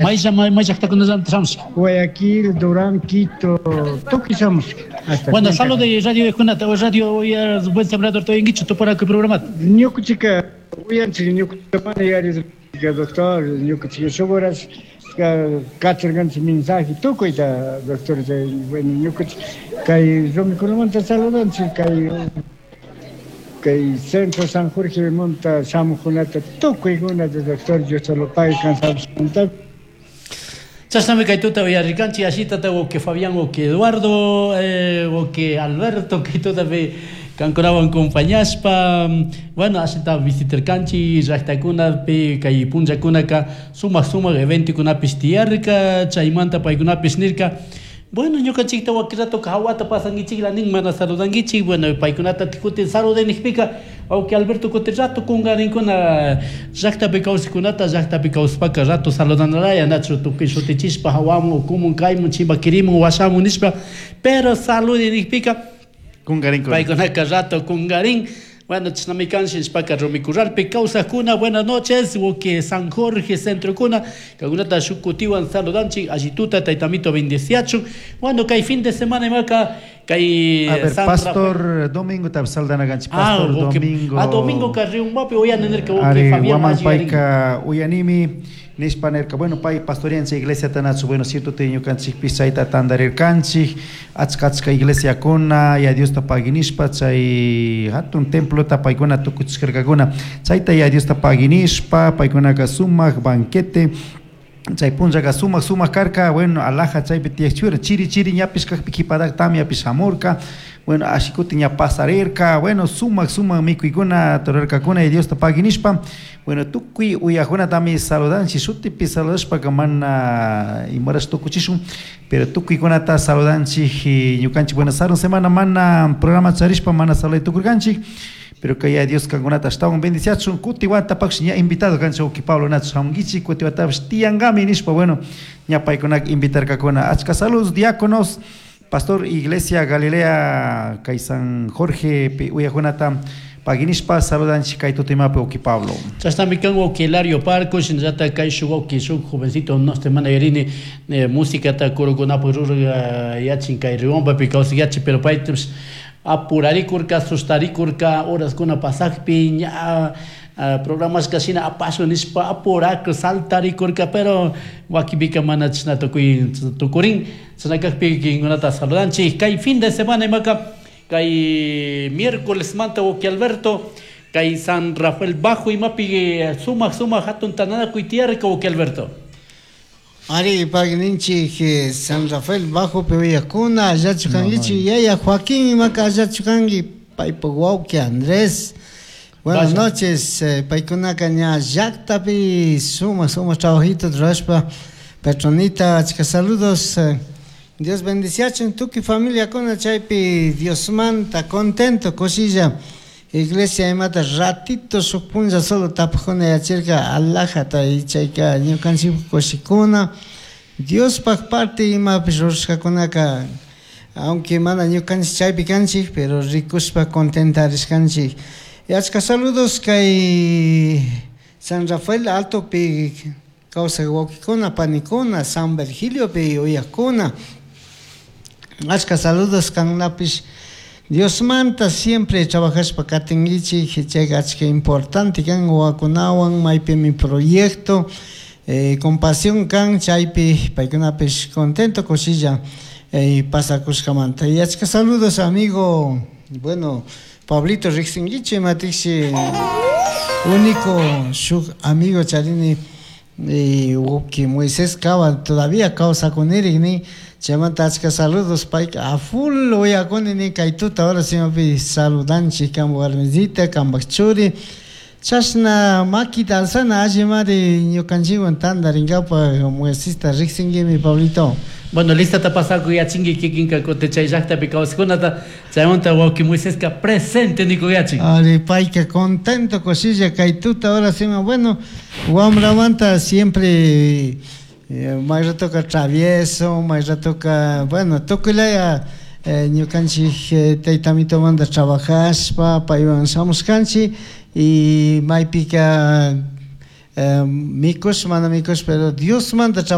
May llaqtakunamanta shamushka? Guayaquil, Durán, Quito, tukuy shamushka. Hasta Bueno, Cuenca. saludo radio kunata, radio Buen Sembrador toyankichu tupanakuy programata. Ñukuchika uyanchik ñukuchika mana yari doctor, ñukuchika shuk horas kacharkanchik mensaje tukuyta, doctor, chay bueno ñukuchik kay rumikunamanta saludanchik kay Centro San Jorge monta shamuqkunata tukuykunata, doctor, Dios te lo pague cansadosmanta. Chashnami kay tuta uyarirkanchik ashitata wawqi Fabián, wawqi Eduardo, wawqi Alberto kay tutapi kankunawan compañashpa, bueno, ashita visitarkanchik llaqtakunapi. Kay punllakunaka sumak sumak eventokunapish tiyarka. Chaymanta paykunapish nirka, bueno, ñukanchikta wakin ratoka hawata pasankichikla nin, mana saludankichik. Bueno, paykunata kutin salude nikpika, wawqi Alberto, kutin rato kunkarinkuna. Llaqtapi kawsaqkunata, llaqtapi kawsapaka rato saludanalaya, nachu? Tukuy shutichishpa hawamun, ukumun, kaymun, chimbakirimun, washamun nishpa, pero salude nikpika Kunkarinkuna. Paykunaka rato kunkarin. Bueno, chashnami kan. Shinashpaka Rumikurralpi kawsakuna, buenas noches. Wawqi San Jorge centrokuna, kankunata shuk kutiwan saludanchik. Allituta taytamito bendeciachun. Bueno, kay fin de semana imaka kay A ver, San Pastor Domingo tapish saludana kanchik, Pastor Domingo. Ah, Domingo Carrión-Mapi uyani nirka wawqi Ari, Fabián Guaman alli yarin. Payka uyanimi nishpa nirka. Bueno, pay pastorean chay iglesiata, nachu? Bueno, cierto, te ñukanchikpish chayta tandarirkanchik, achka achka iglesiakuna, ya Diosta pagui nishpa, chay hatun templota paykuna tukuchishkarkakuna. Chayta ya Diosta pagui nishpa, paykunaka sumak banquete chay punllaka sumak sumak karka. Bueno, alaja chaypi tiyakchura, chiri chiri ñapish kakpi, kipatak tamyapish shamurka. Bueno, ashikutin ña pasarirka. Bueno, sumak sumak mikuykuna turarkakuna y Diosta pagui nishpa. Bueno, tukuy uyakunatami saludanchik. Shutipi saludashpaka mana imarash tukuchishun, pero tukuykunata saludanchik ñukanchik. Bueno, sarun semana mana programa charishpa mana saluday tukurkanchik, pero kay Dios kankunata ashtawan bendiciachun. Kuti watapaksh ña invitado kanchik, wawqi Pablo, nachu? Shamunkichik kuti watapish tiyankami nishpa. Bueno, ña paykunaka invitarkakuna. Achka saludos, diáconos, pastor Iglesia Galilea kay San Jorge pi uyakunata pagui nishpa saludanchik kay tutimapi, wawqi Pablo. Chashnami kan, wawqi Hilario Parco. Shinallata kay shuk wawqi, shuk jovencito, no este mana yarini, musicata kurukunapak rurak yachin, kay Riobambapi kawsak yachin, pero paypish apurarikurka, sustarikurka horaskuna pasakpi. Ña programashka shina apashun nishpa apurak saltarikurka, pero wakinpika mana chashna tukuy tukurin. Chashna kakpi kinkunata saludanchik. Kay fin de semana imaka kay miércoles manta, wawqi Alberto, kay San Rafael Bajo imapi sumak sumak hatun tandanakuy tiyarka, wawqi Alberto. Ari, pagninchik San Rafael Bajo uyakuna, allachu kankichik? Yaya Joaquín imaka, allachu kanki? Paypak wawqi Andrés. Buenas Vaya. noches, paykunaka ña llaqtapi sumak sumak trabajito rurashpa. Petronita, achka saludos. Dios bendiciachun tukuy familiakuna chaypi Diosmanta contento kushilla. Iglesia imata ratito shuk punlla solo tapujuna yachirka alajata y chayka ñukanchik kushikuna. Diospaj parte imapish rurashkakunaka, aunque mana ñukanchik chaypi kanchik, pero rikushpa contentarishkanchik. Y achka saludos kay San Rafael Altopi kawsaq wawqikuna, panikuna, San Virgiliopi uyakuna. Achka saludos kankunapish Diosmanta siempre trabajashpa katinkichik, chayka achka importante kan wawakunawan maypimi proyecto compasión kan chaypi paykunapish contento kushilla pasakushkamanta. Y achka saludos, amigo, bueno, Pablito riqsinkichik imatiksi único shuk amigo charini wawqi Moisés Cava todavía kawsakunirik nin. Chaymanta achka saludos, payka a full uyakuni nin kay tuta ahora simapi saludanchik kanpak warmisita, kanpak churi. Chashna makita alzana allimari ñukanchikwan tantarinkapa. Moisesta riqsinkimi, Pablito. Bueno, listata pasakuy yachinki kikinka kutin chay llaqtapi kawsaqkunata. Chaymanta wawqi Moiseska presente nikuyachin. Ari, payka contento kushilla kay tuta ahora sima. Bueno, wamramanta siempre may ratoka travieso, may ratoka, bueno, tukuylaya ñukanchik taytamitomanta trabajashpa paywan shamushkanchik y maypika Mikush mana mikush, pero Diosmanta.